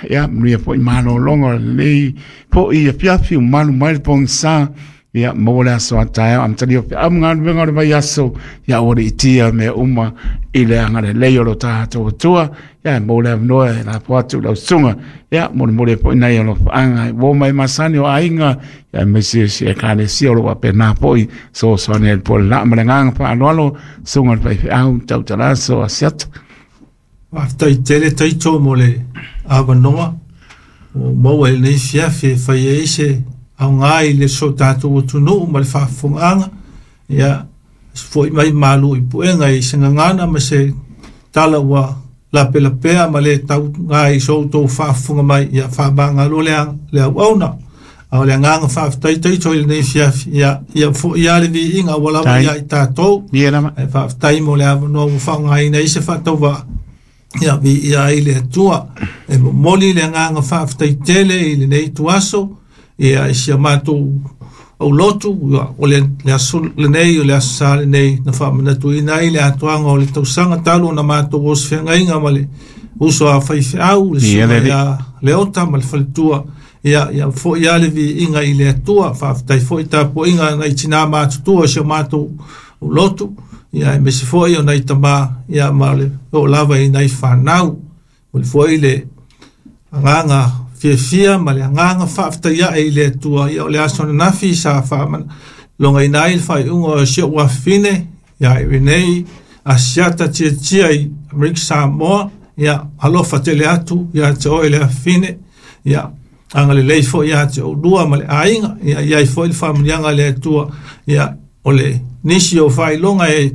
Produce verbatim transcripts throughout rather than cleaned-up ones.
Ia manuia foi malologa o lenei fo'i afiafi ua malu mai le pogisa. Ia maua le aso a taeao amatalia o feau ma galuega o le vaiaso. Ia ua li'itia mea uma i le agalelei o lo tatou Atua. Ia maua le avanoa e lapo atu i lau susuga. Ia molimoli ai fo'i nai alofaaga uo mai masani o aiga, ia aemaise si Ekalesia o lo o faapena fo'i soasoani ai le po le laa ma le agaga faaaloalo, susuga i le faifeau tautalaso Asiata. Faafetai tele taito mo le avanoa ua maua i lenei fiafi e fai ai se aoga i le so tatou atunuu ma le faafofogaaga. Ia fo'i mai malu i puega i se gagana ma se tala ua lapelapea ma le tauga i so outou faafofoga mai. Ia faamagalo le le auauna. A o le agaga faafetai taito i lenei fiafi, ia ia fo'i lava le viiga ua lava ia i tatou. Ia lava. Ae faafetai mo le avanoa ua faaaogaina ai se faatauvaa, ia viia ai le Atua. E momoli le agaga faafetai tele i lenei ituaso, ia i si a matou aulotu, ia, o le, le aso lenei, o le aso sa lenei, na faamanatuina ai le atoaga o le tausaga talu ona matou osofeagaiga ma le uso a faifeau, le Ia susuga le alii. ia Leota ma le faletua. Ia, ia fo'i lava le viiga i le Atua. Faafetai foi tapuaiga nai tinā matutua o si o matou lotu, ia aemaise foi o nai tamā, ia ma le oo lava i nai fanau. O le foi le agaga fiafia ma le agaga faafetai ae i le Atua. Ia o le aso ananafi sa faamalogaina ai le faaiuga o si ou afafine ia Irenei Asiata Tiatia i Amerika Samoa. Ia alofa tele atu ia te oe le afafine. Ia agalelei foi ia te oulua ma le aiga. Ia i ai foi le faamanuiaga a le Atua. Ia o le nisi o faailoga e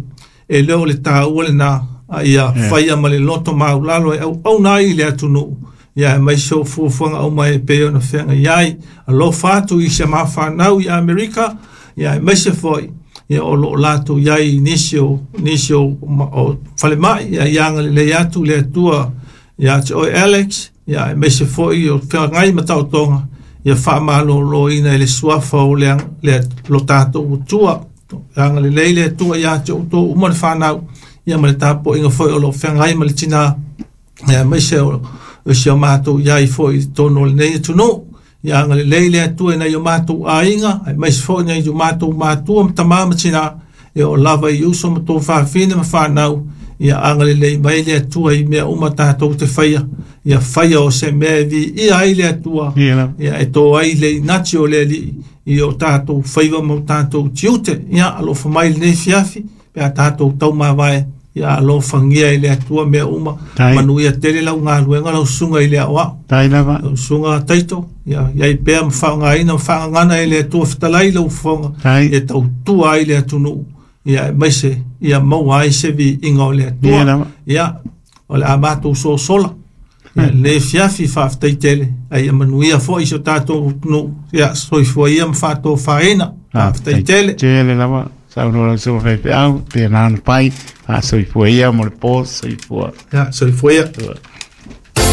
e le o le taua lena, a ia faia ma le loto maulalo e auauna ai i le atunuu. Ia aemaise o fuafuaga uma e pei ona feagai ai. Alofa atu i si mafanau i Amerika, ia aemaise foi ia o loo latou i ai i nisi o nisi o, o falemai. Ia ia agalelei atu le Atua ia te oe Alex, ia aemaise foi o feagai ma taotoga, ia faamalōlōina i le suafa o le, le lo tatou Atua. Agalelei le Atua ia te outou uma le fanau, ia ma le tapuaiga foi o lo o feagai ma le tinā, ia aemaise o o si o matou i ai foi i totonu o lenei atunuu. Ia agalelei le Atua i nai o matou aiga, aemaise foi nai o matou matua ma tamā ma tinā, ia o lava i uso ma tou fafine ma fanau. Ia agalelei mai le Atua i mea uma tatou te faia, ia faia o se mea e viia ai le Atua. Ia lava. Ia e to ai le inati o le Alii i o tatou faiva ma o tatou tiute. Ia alofa mai lenei fiafi pe a tatou taumavae. Ia alofagia e le Atua mea uma. Tai. Manuia tele lau galuega lau susuga i le aoao. Tai lava. Lau susuga Taito, ia iai pea ma faaaogaina ma faagagana e le Atua fetalai lau fofoga Tai. e tautua ai le atunuu. Ia aemaise ia maua ai se viiga o le Ia Atua. lava. Ia o le a matou sosola. Ia lenei fiafi faafetai tele, ai ia manuia foi si o tatou atunuu. Ia soifua ia ma faatofaina. Faafetai tele. Tele lava. Saunoa lau susuga faifeau, pena ona pai, faasoifua ia mo le po, soifua. Ia soifua ia.